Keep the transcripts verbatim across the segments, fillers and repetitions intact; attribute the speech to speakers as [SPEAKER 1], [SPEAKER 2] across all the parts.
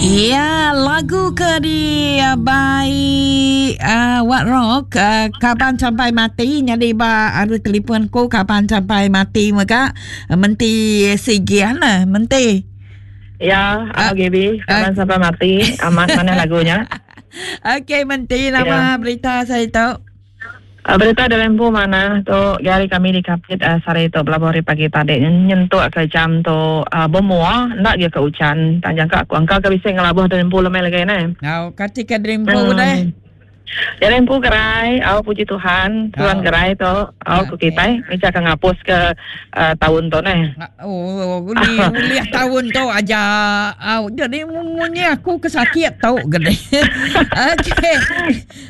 [SPEAKER 1] Ya, lagu ke di uh, by uh, What Rock uh, Kaban Sampai Mati. Jadi ba ada telefon ku Kaban Sampai Mati mega uh, menti sigian lah menti.
[SPEAKER 2] Ya, uh, G B, Kaban uh, Sampai Mati amat mana lagunya.
[SPEAKER 1] Okey, menti nama ya. Berita saya tahu.
[SPEAKER 2] Uh, berita dalam bu mana tu gari kami di Kapit uh, sari tu belabuh hari pagi tadi nyentuk ke jam tu uh, bermua nak dia ke hujan tanjang ke aku angka ke bisa ngelabuh dalam bu lemai lagi ne.
[SPEAKER 1] Ngau kati ke dalam bu hmm. deh.
[SPEAKER 2] Dalam bu gerai, au puji Tuhan, Tuhan oh. gerai tu, au ku kita, ni ke ngapus ke uh, tahun tu ne.
[SPEAKER 1] Oh, uli uli tahun tu aja. Au, jadi munyi aku kesakit tau gede. Okey.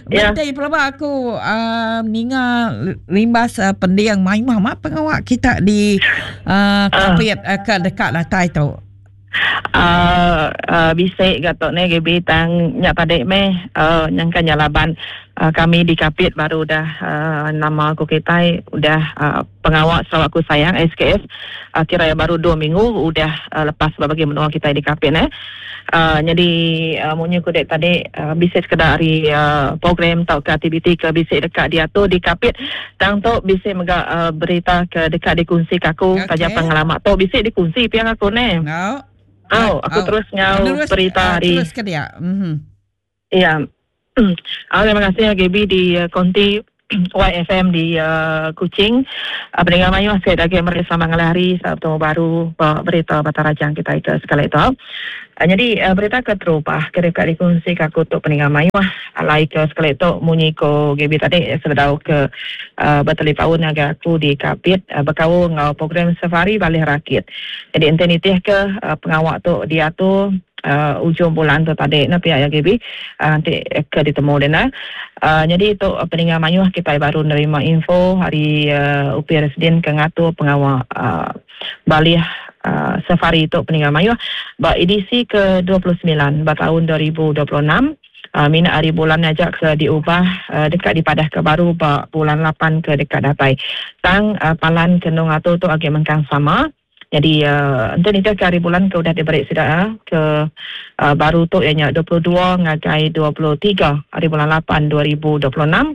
[SPEAKER 1] Ya. Betul pelaba aku uh, ninga limbas uh, pendiang mai mah pengawak kita di uh, Kapit uh, ke dekat datai tu.
[SPEAKER 2] Uh, uh, bisik gatok ni G B tang nyak tadi meh uh, nyangka nyalaban uh, kami di Kapit baru dah uh, nama aku kita udah uh, pengawal Sarawakku Sayang S K S uh, kira ya baru dua minggu udah uh, lepas bagi menua kita di Kapit eh. Uh, jadi uh, munyi ku dek tadi uh, bisik sekedar hari uh, program atau ke aktiviti ke bisik dekat dia tu di Kapit tang tu bisik mega uh, berita ke dekat dikongsi ke aku okay. Taja pengalaman tu bisik dikongsi piang aku ne.
[SPEAKER 1] No.
[SPEAKER 2] Oh, aku oh. terus ngau terus, berita uh, hari.
[SPEAKER 1] Terus ke dia. Mm-hmm.
[SPEAKER 2] Ya. Oh, terima kasih ya G B di uh, Konti Y F M di uh, Kuching. Uh, pendengar mayu saya lagi meri selamat ngalih hari Sabtu baru uh, berita Batarajang kita itu sekali itu. Uh, jadi uh, berita keterubah kira kat dikongsi ke aku untuk pendengar mayu alai ke sekali itu munyi ko G B tadi sebedau ke uh, bertelepaun agak aku di Kapit uh, berkau ngau program safari Balih Rakit. Jadi ente nitih ke uh, pengawak tu dia tu uh, ujung bulan tu tadi na pihak G B uh, nanti ke ditemu dia na. Uh, jadi itu uh, pendengar mayuh kita baru nerima info hari uh, U P Residen ke ngatur pengawal uh, Balih uh, safari itu pendengar mayuh ba edisi ke dua puluh semilan ba tahun dua ribu dua puluh enam uh, minat hari bulan ajak ke diubah uh, dekat di padah ke baru ba bulan lapan ke dekat datai tang uh, palan kenung atu tu agak mengkang sama. Jadi uh, ente ni ke hari bulan ke udah diberi sudah uh, ke uh, baru tu ianya dua puluh dua ngagai dua puluh tiga hari bulan lapan dua ribu dua puluh enam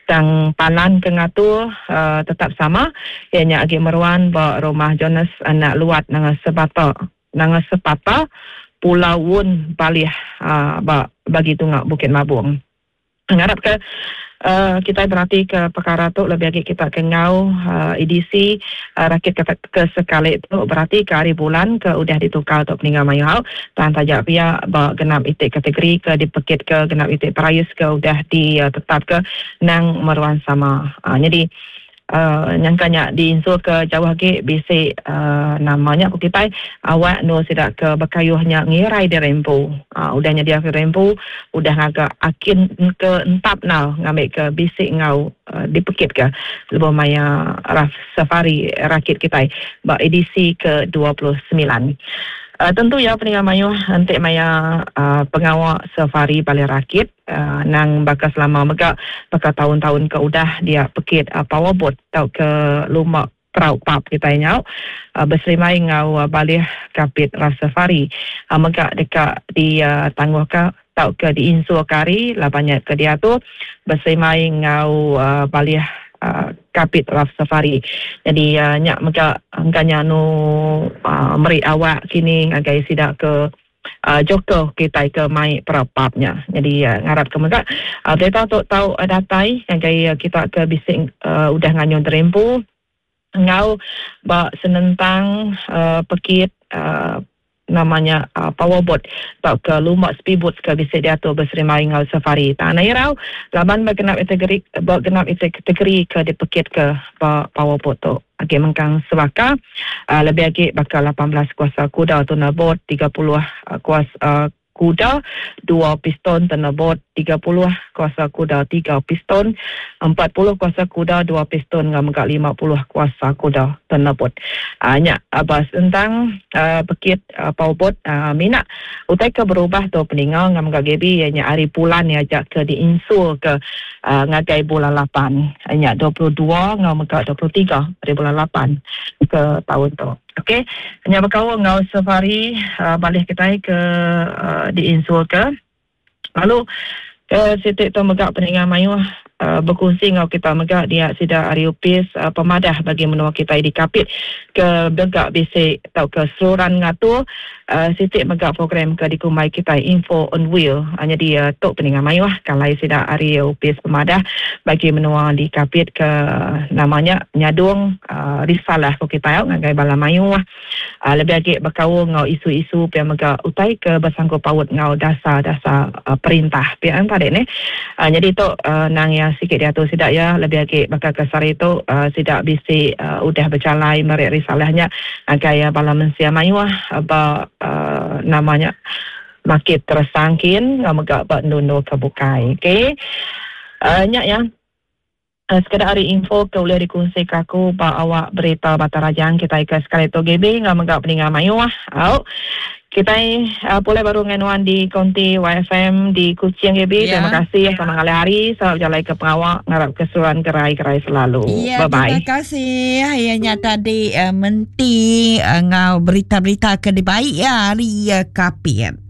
[SPEAKER 2] tang palan ke ngatur uh, tetap sama ianya agi meruan ba rumah Jonas anak Luat nanga Sebata nanga Sepata Pulau Wun Balih uh, ba bagi tunga Bukit Mabung. Ngarap ke uh, kita berarti ke perkara tu lebih lagi kita ke ngau uh, edisi uh, rakit ke, ke sekali tu berarti ke hari bulan ke udah ditukar untuk peninggal mayu hau tan tajak pia ba genap itik kategori ke dipekit ke genap itik prize ke udah ditetap uh, ke nang meruan sama. Uh, jadi uh, nyangkanya diinsul ke jauh lagi bisi uh, namanya aku kita awak no sidak ke bekayuhnya ngirai di rempu uh, udahnya dia ke rempu udah ngagak akin ke entap nau ngambil ke bisik ngau uh, dipekit ke lebih maya raf safari rakit kita ba edisi ke dua puluh sembilan. Uh, tentu ya pendengar mayuh nanti maya uh, pengawal safari Balih Rakit uh, nang bakal selama mega bakal tahun-tahun ke udah dia pekit uh, powerboat atau ke lumak perau pap kita nyau uh, berserimai ngau uh, Balih Kapit Raf Safari uh, mega dekat di uh, tangguh ke tau ke di insul kari lah banyak ke dia tu berserimai ngau uh, Balih uh, Kapit Raf Safari. Jadi uh, nyak mega angkanya nu uh, meri awak kini ngagai sidak ke uh, Joker kita ke mai perapapnya. Jadi uh, ngarap ke mega uh, berita tu tahu uh, datai ngagai uh, kita ke bising uh, udah nganyun terempu ngau ba senentang uh, pekit uh, namanya uh, powerboat atau ke lumak speedboat ke bisa diatur berserimai ngau safari. Tanah irau laban bergenap kategori bergenap kategori ke dipekit ke powerboat tu. Okey mengkang sebaka uh, lebih lagi bakal lapan belas kuasa kuda tu boat tiga puluh uh, kuasa uh, kuda dua piston tenabot tiga puluh kuasa kuda tiga piston empat puluh kuasa kuda dua piston ngam lima puluh kuasa kuda tenabot. Uh, nya abas tentang uh, pekit uh, powerboat uh, minat Utai ke berubah tu peninga ngam ga G B ianya hari bulan ya ajak ke diinsul ke uh, ngagai bulan lapan. Nya dua puluh dua ngau mega dua puluh tiga hari bulan lapan ke tahun tu. Okey, nya berkaul ngau safari uh, balik kita ke uh, diinsul ke. Lalu ke sitik tu mega peninga mayuh uh, berkongsi ngau kita mega dia sida ari upis uh, pemadah bagi menua kita di Kapit ke mega bisi tau ke seluran ngatur uh, sitik mega program ke dikumbai kita Info on Wheel. Uh, jadi uh, tok peninga mayuh kalau sida ari upis pemadah bagi menua di Kapit ke namanya nyadung uh, risalah ko kita ngagai bala mayuh uh, lebih lagi berkaul ngau isu-isu pia mega utai ke bersangkut paut ngau dasar-dasar uh, perintah pia tadi ni. Uh, jadi tu uh, nang yang sikit dia tu sidak ya lebih lagi bakal ke sari tu uh, sidak bisi uh, udah berjalai merik risalahnya agai uh, bala mensia mayuh uh, ba uh, namanya makit tersangkin ngau mega ba nundu ke bukai. Okey. Uh, nyak ya. Uh, sekadar hari info ke boleh dikongsi ke aku ba awak berita Batang Rajang kita ke sekali tu G B ngau mega peninga mayuh. Au. Kita uh, boleh baru dengan di konti Y F M di Kuching G B. Ya. Terima kasih ya. Sama ngalih hari. Selamat berjalan ke pengawak. Ngarap keseruan gerai-gerai selalu.
[SPEAKER 1] Ya,
[SPEAKER 2] Bye-bye.
[SPEAKER 1] Terima kasih. Ayahnya tadi uh, menti uh, ngau berita-berita ke dibaik ya hari uh, Kapit.